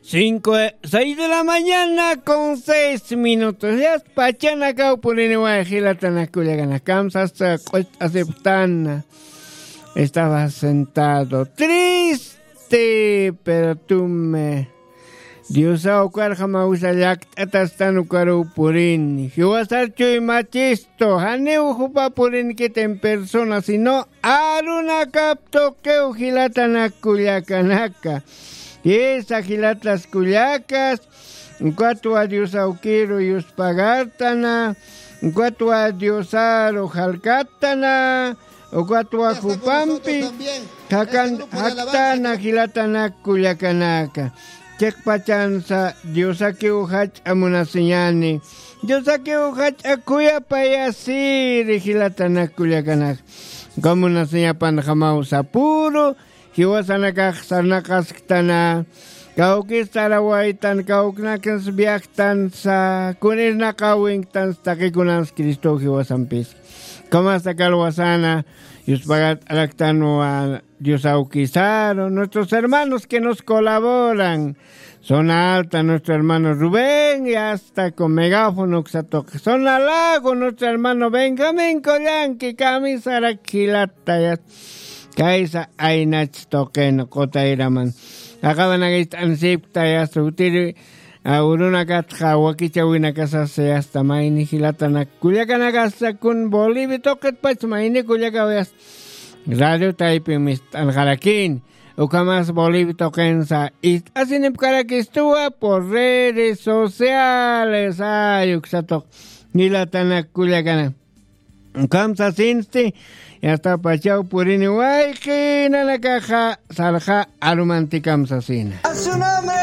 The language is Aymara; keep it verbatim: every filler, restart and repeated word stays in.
Cinco, seis de la mañana con seis minutos. Yasta pachanakaw puriniway jilatanakullakanaka. Kamsasta q'ucht'asipxtana. Estaba sentado triste, pero tume. Diosaw karjamawisa llakt'atastan ukaruw purini. Jiwasar chuy machistu. Janiw jupa purinkit en persona, sino arunakap tuqiw jilatanakullakanaka. Jisa jilatas kullakas, ukatwa Dios awkiru yuspagartana, ukatwa Diosaru jalkattana, ukatwa jupampi jakan jaktana jilatanakullakanaka. Chiqpachansa Diosakiw jach'a munasiñani. Diosakiw jach'a khuyapayasiri jilatanakullakanaka. Uka munasiñapan jamawsa puru jiwasanakax sarnaqasktana, kawkis sarawaytan, kawknakans viajtansa, kunirnaqawinktansa, taqikunans Cristo jiwasampis. Kamasta kalwasana, yuspagart'araktanwa Dios awkisaru, nuestros hermanos que nos colaboran, Zona Alta, nuestro hermano Rubén, y hasta con megáfono, uksa tuqi. Zona Lago, nuestro hermano Benjamín Collanqui, kamisarak jilata, ya. Kaysa aynach tuqin qutayraman. Aqawanakay t'ansipkta, ya, sutiri, a, urunakatxa wakichawinakasasa, ya, hasta mayni jilatanakullakanakasa kun Bolivia tuqitpach mayni kullakaw, ya. Radio Taypin mist'anxarakini. Ukhamas Bolivia tuqinsa ist'asinipkarakistuwa por redes sociales. Ay, uksa tuq jilatanakullakana. Ukham sasinsti, yasta pachaw purini wayqi nanakaxa sarxa arumanti kamsasina. A su nombre.